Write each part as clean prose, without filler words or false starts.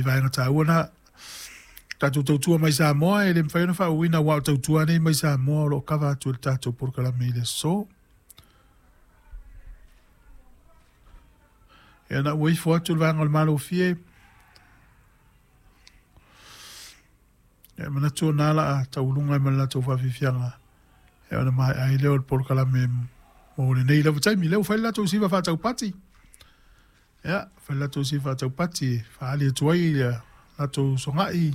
nai vaega taua na. Tatou tautua mai Samoa e le mafai ona faauuina aua o tautua nei mai Samoa o lo o kava atu e le tatou polokalame i le aso. Ia na ua ifo atu le vaega o le Malofie. Ia e manatu o na la tauluga ai ma le latou faafiafiaga ia ona maea ai lea o le polokalame mo lenei lava taimi. Lea ua fai le latou siva faataupati. Ia, fai le latou siva faataupati e faaali atu ai ia latou sogai.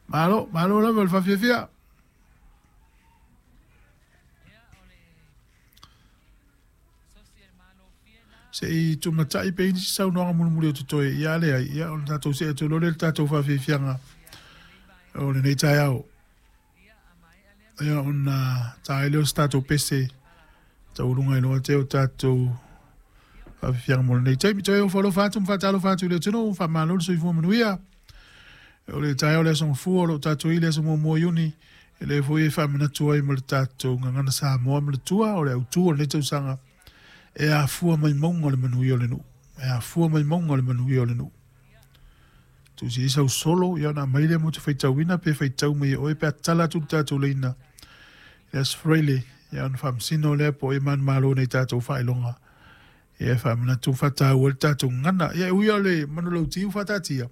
Malo, malo lava le faafiafia. Se i tumatai pe i ai nisi saunoaga mulimuli o totoe, ia a leai, ia ona tatou see atu loa lea i le tatou faafiafiaga o lenei taeao. Ia ona ta ai lea o se tatou pese taualuga ai loa te o tatou faafiafiaga mo lenei taimi. Toe ofo alofa atu ma faatalofa atu i le atunuu, faamalo le soifua manuia. O le taeao o le aso Gafua o lo o tatou i le aso 1 o Iuni, e le foi e faamanatu ai ma le tatou gagana Samoa ma le tua o le autu o lenei tausaga e afua mai mauga o le manuia o le nuu. E afua mai mauga o le manuia o le nuu. Tusi ai sau solo, ia ona aumai lea mo te faitauina pe faitau mai e oe pe a tatala atu le tatou laina i le Aso Faraile, ia ona faamasino lea po o ai e manumalo nei tatou faailoga. Ia e faamanatu ma faataua ai le tatou gagana. Ia e ui lava o le manulauti ua faataatia,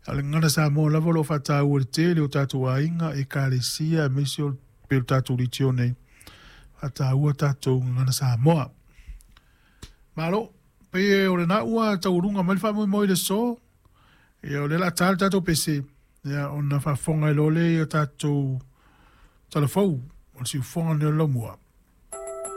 a o le gagana Samoa lava o lo o faataua e le tele o tatou aiga, ekalesia, aemaise o pei o le tatou leitio nei, faataua tatou gagana Samoa. Malo, pei o lena ua taualuga mai le faamoemoe i le aso. Ia o lea o le a ta le tatou pese, ia ona faafofoga ai loa lea i a tatou talafou o le siufofoga lenei o le laumua.